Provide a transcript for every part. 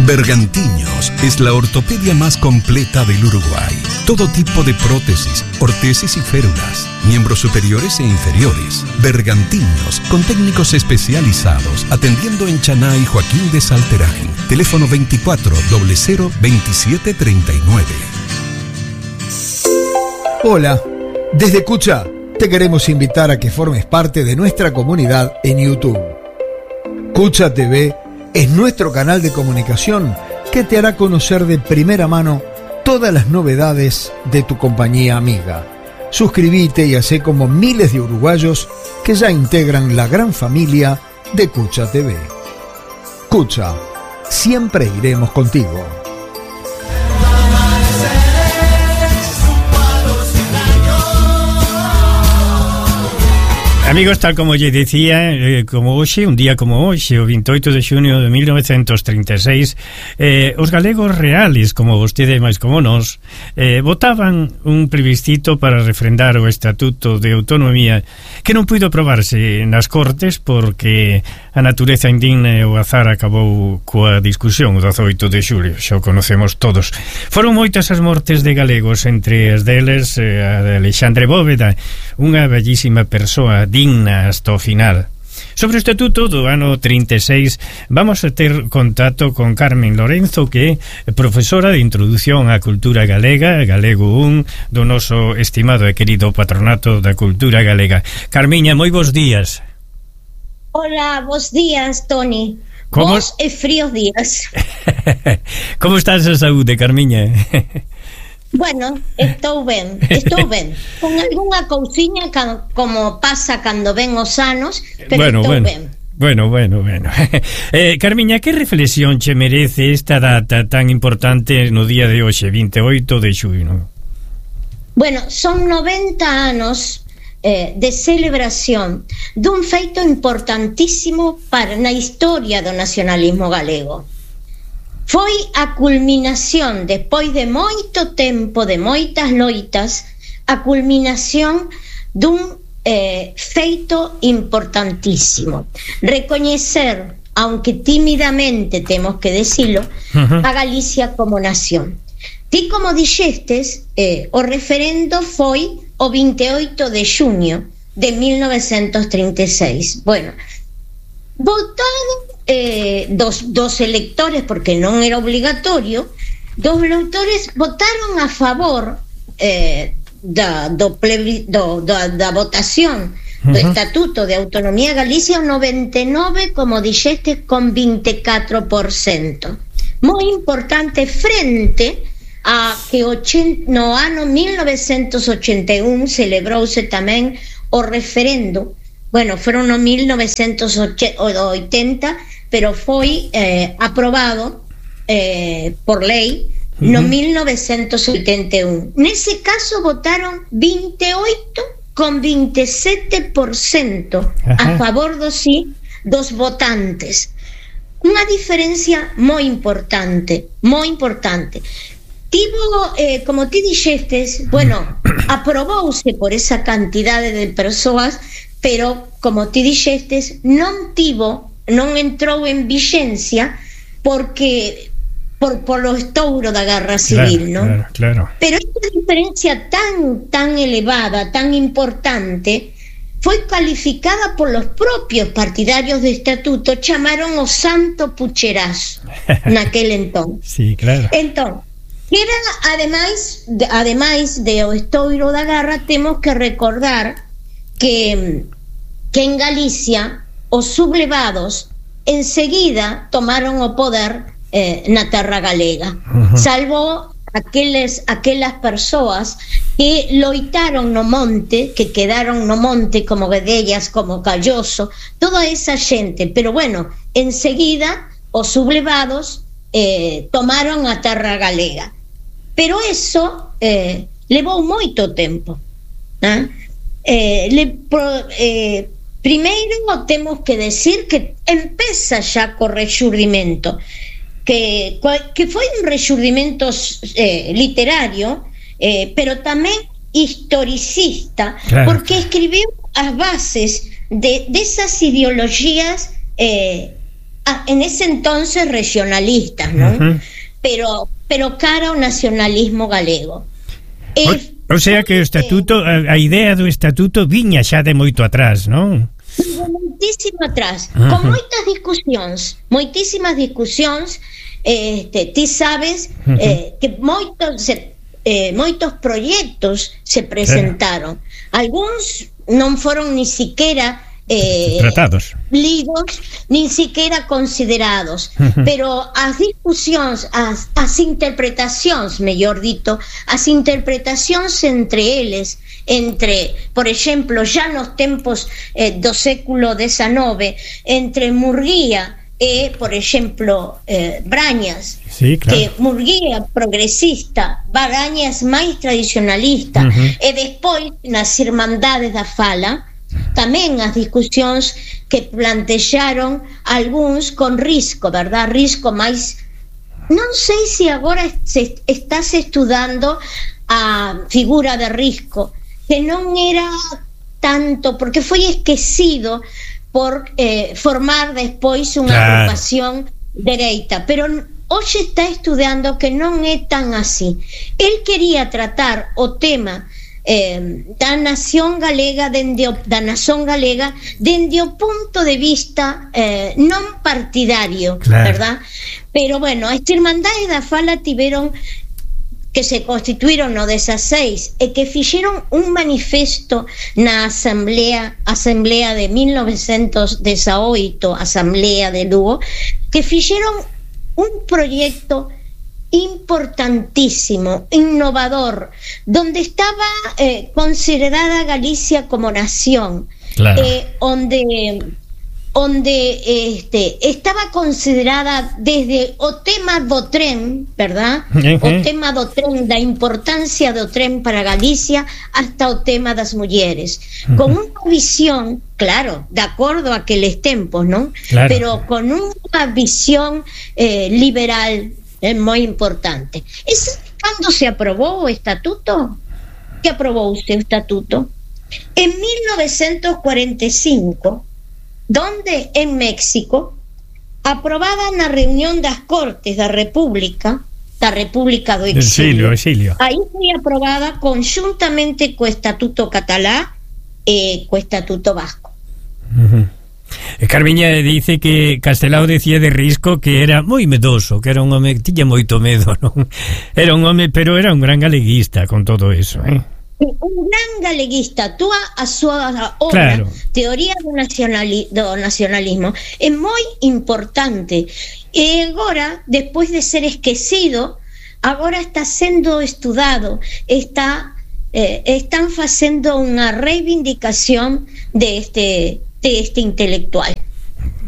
Bergantiños es la ortopedia más completa del Uruguay. Todo tipo de prótesis, ortesis y férulas, miembros superiores e inferiores. Bergantiños, con técnicos especializados, atendiendo en Chaná y Joaquín de Salterain. Teléfono 24 00 27 39. Hola, desde Cucha te queremos invitar a que formes parte de nuestra comunidad en YouTube. Cucha TV es nuestro canal de comunicación que te hará conocer de primera mano todas las novedades de tu compañía amiga. Suscríbete y hacé como miles de uruguayos que ya integran la gran familia de Cucha TV. Cucha, siempre iremos contigo. Amigos, tal como lle dicía, como hoxe, un día como hoxe, o 28 de xunio de 1936, os galegos reales, como vostede máis como nós, votaban un plebiscito para refrendar o Estatuto de Autonomía que non puido aprobarse nas Cortes porque a natureza indigna e o azar acabou coa discusión o 18 de xulio, xa o conocemos todos. Foron moitas as mortes de galegos, entre as deles a de Alexandre Bóveda, unha bellísima persoa digna hasta o final. Sobre o Estatuto do ano 36 vamos a ter contacto con Carmen Lorenzo, que é profesora de Introdución á Cultura Galega, Galego 1, do noso estimado e querido Patronato da Cultura Galega. Carmiña, moi bons días. Hola, bons días, Toni. Bons e fríos días. Como estás a saúde, Carmiña? Bueno, estou ben, con algunha cousiña como pasa cando ven os anos, pero estou ben. Bueno. Carmiña, que reflexión che merece esta data tan importante no día de hoxe, 28 de xunio? Bueno, son 90 anos de celebración dun feito importantísimo na historia do nacionalismo galego. Foi a culminación, despois de moito tempo, de moitas loitas, a culminación dun feito importantísimo. Recoñecer, aunque tímidamente temos que decilo, a Galicia como nación. Ti, como dixestes, o referendo foi o 28 de xunio de 1936. Bueno, votado dos electores, porque non era obligatorio, dos electores votaron a favor da votación do Estatuto de Autonomía Galicia, o 99, como dixeste, con 24%. Moi importante frente a que no ano 1981 celebrouse tamén o referendo. Bueno, foron no 1980, pero foi aprobado por lei no 1981. Nese caso votaron 28 con 27% a favor do sí dos votantes. Unha diferencia moi importante. Tivo, como ti dixestes, bueno, aprobouse por esa cantidade de persoas, pero, como ti dixestes, non entrou en vixencia porque polo estouro da Guerra Civil, non? Claro. Pero esta diferencia tan elevada, tan importante, foi calificada por los propios partidarios do Estatuto, chamaron o Santo Pucherazo naquel entón. Sí, claro. Entón, que era, ademais de o estouro da Guerra, temos que recordar que en Galicia os sublevados enseguida tomaron o poder na terra galega, salvo aquelas persoas que loitaron no monte, que quedaron no monte como Guedellas, como Calloso, toda esa xente. Pero bueno, enseguida os sublevados tomaron a terra galega, pero eso levou moito tempo. Primeiro temos que decir que empeza xa co rexurdimento, que foi un rexurdimento literario, pero tamén historicista, claro, porque escribiu as bases de esas ideologías en ese entonces regionalistas, ¿no? Pero cara ao nacionalismo galego. O sea que o estatuto, a idea do estatuto viña xa de moito atrás, non? Moitísimo atrás, con moitísimas discusións, ti sabes que moitos proxectos se presentaron. Algúns non foron ni siquiera tratados, lidos, nin siquiera considerados, pero as discusións, as interpretacións, mellor dito, as interpretacións entre eles, por exemplo, xa nos tempos do século XIX, entre Murguía e, por exemplo, Brañas, sí, claro, que Murguía progresista, Brañas máis tradicionalista, e despois nas Irmandades da Fala, tamén as discusións que plantexaron algúns con Risco, verdad? Risco máis, non sei se agora estás estudando a figura de Risco, que non era tanto, porque foi esquecido por formar despois unha agrupación dereita, pero hoxe está estudando que non é tan así. El quería tratar o tema da nación galega dende o punto de vista non partidario, verdad? Pero bueno, as Irmandades da Fala tiveron que se constituíron no 16 e que fixeron un manifesto na asamblea de 1918, asamblea de Lugo, que fixeron un proxecto importantísimo, innovador, donde estaba considerada Galicia como nación, onde estaba considerada desde o tema do tren, verdad? O tema do tren, da importancia do tren para Galicia, hasta o tema das mulleres, con unha visión, claro, de acordo a aqueles tempos, non? Claro. Pero con unha visión liberal, moi importante. Cando se aprobou o estatuto? Que aprobouse o estatuto? En 1945, donde en México, aprobada na reunión das Cortes da República do Exilio. Aí foi aprobada conjuntamente co estatuto catalá e co estatuto vasco. Carmiña dice que Castelao decía de Risco que era moi medoso, que era un home que tiña moito medo, non? Era un home, pero era un gran galeguista con todo eso, un gran galeguista. A súa obra, claro, Teoría do nacionalismo, é moi importante, e agora, despois de ser esquecido, agora está sendo estudado, están facendo unha reivindicación de este intelectual.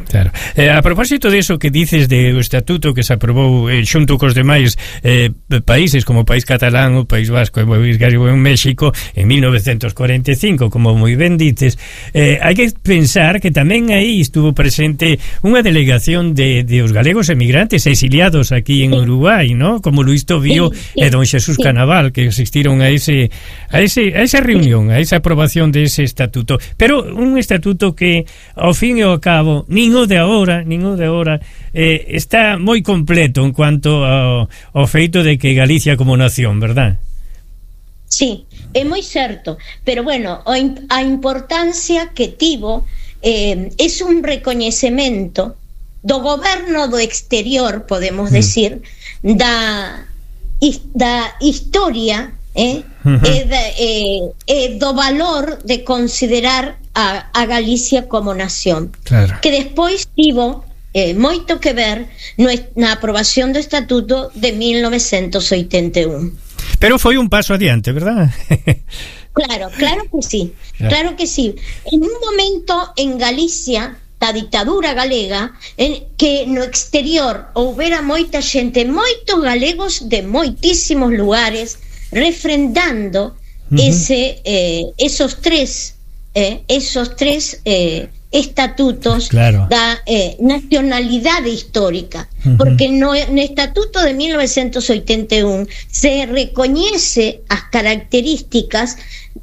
Claro. A propósito de eso que dices do estatuto que se aprobou xunto cos demais países como o país catalán, o país vasco e en México en 1945, como moi ben dices, hai que pensar que tamén aí estuvo presente unha delegación de os galegos emigrantes exiliados aquí en Uruguai, ¿no? Como Luis Tobío e don Xesús Canaval, que asistiron a esa reunión, a esa aprobación de ese estatuto, pero un estatuto que ao fin e ao cabo nin o de agora está moi completo en cuanto ao feito de que Galicia como nación, verdad? Sí, é moi certo, pero bueno, a importancia que tivo é un recoñecemento do goberno do exterior, podemos decir, da historia e do valor de considerar a Galicia como nación, claro, que despois tivo moito que ver na aprobación do estatuto de 1981. Pero foi un paso adiante, verdad? Claro que sí, claro que sí. En un momento en Galicia, da ditadura galega, en que no exterior houbera moita xente, moitos galegos de moitísimos lugares, refrendando esos tres estatutos, claro, da nacionalidade histórica. porque no Estatuto de 1981 se recoñece as características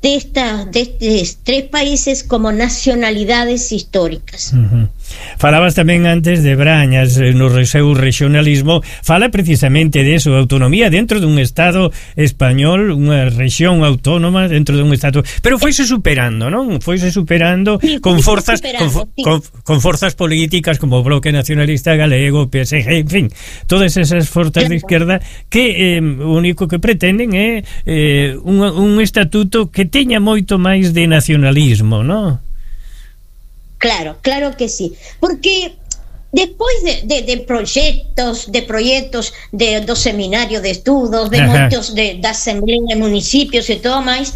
destes tres países como nacionalidades históricas. Falabas tamén antes de Brañas no seu regionalismo, fala precisamente de eso, autonomía dentro dun Estado español, unha rexión autónoma dentro dun Estado, pero foise superando, non? Foise superando con forzas con forzas políticas como o Bloque Nacionalista Galego, PSG, en fin, todas esas forzas de izquierda que o único que pretenden é un estatuto que teña moito máis de nacionalismo, non? Claro, claro que sí, porque despois de proxectos do seminario de estudos, de moitos da Asamblea de Municipios e todo máis,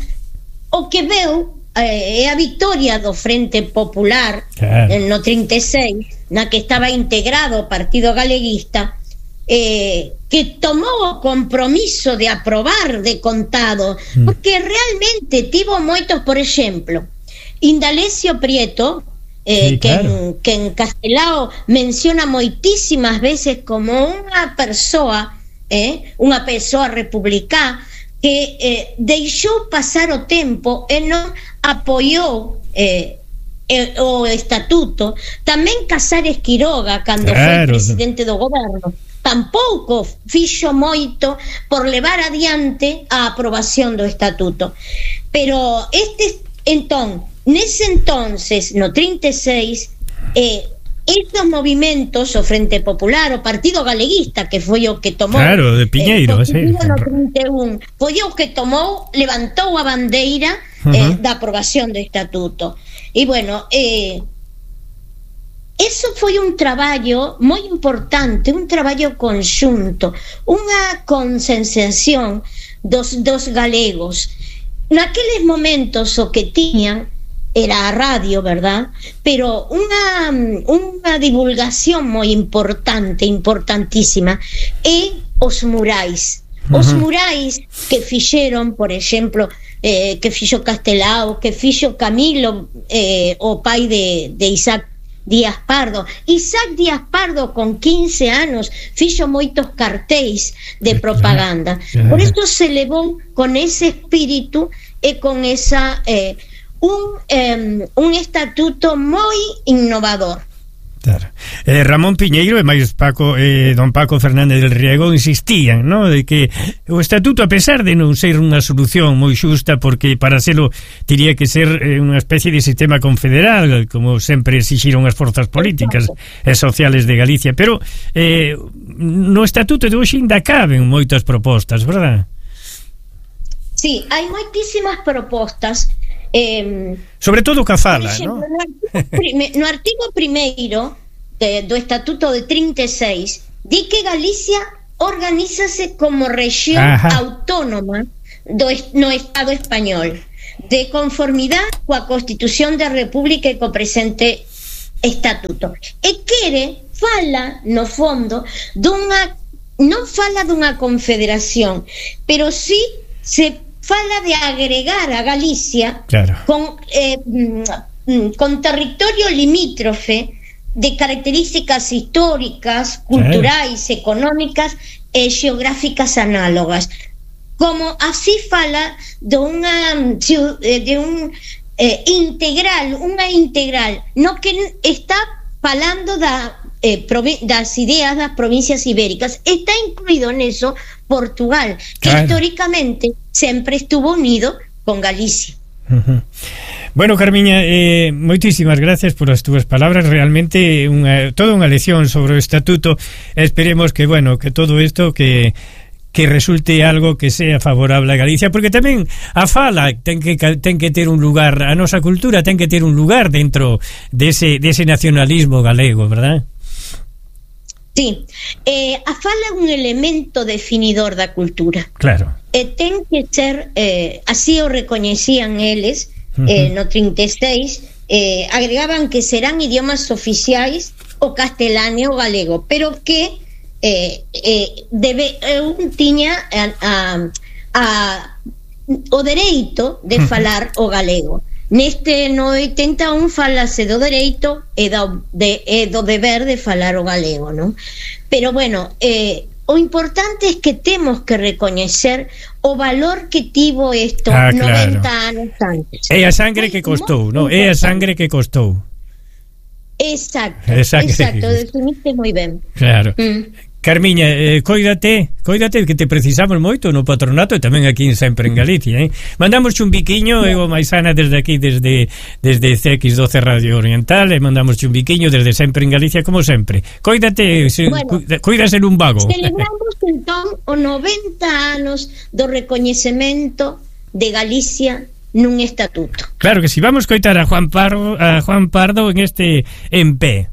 o que veu é a victoria do Frente Popular no 36, na que estaba integrado o Partido Galeguista, que tomou o compromiso de aprobar de contado, porque realmente tivo moitos, por exemplo, Indalecio Prieto, sí, claro, que en Castelao menciona moitísimas veces como unha persoa republicana que deixou pasar o tempo e non apoiou o estatuto. Tamén Casares Quiroga, cando foi presidente do goberno, tampouco fixo moito por levar adiante a aprobación do estatuto. Pero nese entonces, no 36, estos movimentos, o Frente Popular, o Partido Galeguista, que foi o que tomou, claro, de Piñeiro, no 31, foi o que tomou, levantou a bandeira da aprobación do estatuto. E bueno, eso foi un traballo moi importante, un traballo conxunto, unha conscienciación dos galegos. Naqueles momentos o que tiñan era a radio, verdad? Pero unha divulgación moi importante, importantísima, é os murais. Os murais que fixeron, por exemplo, que fixo Castelao, que fixo Camilo, o pai de Isaac Díaz Pardo. Isaac Díaz Pardo, con 15 anos, fixo moitos cartéis de propaganda. Por isto se levou con ese espírito e con esa un estatuto moi innovador. Claro. Ramón Piñeiro e máis don Paco Fernández del Riego insistían, ¿no?, de que o estatuto, a pesar de non ser unha solución moi xusta, porque para selo teria que ser unha especie de sistema confederal, como sempre exixiron as forzas políticas e sociales de Galicia, pero no estatuto de hoxe ainda caben moitas propostas, verdad? Sí, hai moitísimas propostas, sobre todo que fala, ¿no? No artigo primeiro do Estatuto de 36 di que Galicia organízase como rexión autónoma no Estado español, de conformidade coa Constitución da República e co presente Estatuto. E fala no fondo non fala dunha confederación, pero sí se fala de agregar a Galicia, claro, con territorio limítrofe de características históricas, culturais, económicas e xeográficas análogas. Como así fala de un integral, no que está falando das ideas das provincias ibéricas. Está incluído neso Portugal, que históricamente sempre estuvo unido con Galicia. Bueno, Carmiña, moitísimas gracias por as túas palabras. Realmente toda unha lección sobre o estatuto. Esperemos que, bueno, que todo isto que resulte algo que sea favorable a Galicia, porque tamén a fala ten que ter un lugar, a nosa cultura ten que ter un lugar dentro dese nacionalismo galego, verdad? Sí, a fala é un elemento definidor da cultura. Claro. Ten que ser, así o recoñecían eles, no 36, agregaban que serán idiomas oficiais o castelán e o galego, pero que tiña o dereito de falar o galego. Neste no 81 falase do dereito e do deber de falar o galego, non? Pero bueno, o importante é que temos que recoñecer o valor que tivo isto 90 anos antes. É a sangre que costou, non? É a sangre que costou. Exacto, definiste moi ben. Claro. Carmiña, coídate que te precisamos moito no patronato e tamén aquí sempre en Galicia, Mandamos un biquiño, eu Maisana desde aquí, desde CX12 Radio Oriental, e mandamos un biquiño desde sempre en Galicia, como sempre. Coídate, cuídase nun vago. Celebramos entón o 90 anos do recoñecemento de Galicia nun estatuto. Claro que si, vamos coitar a Juan Pardo en este en pé.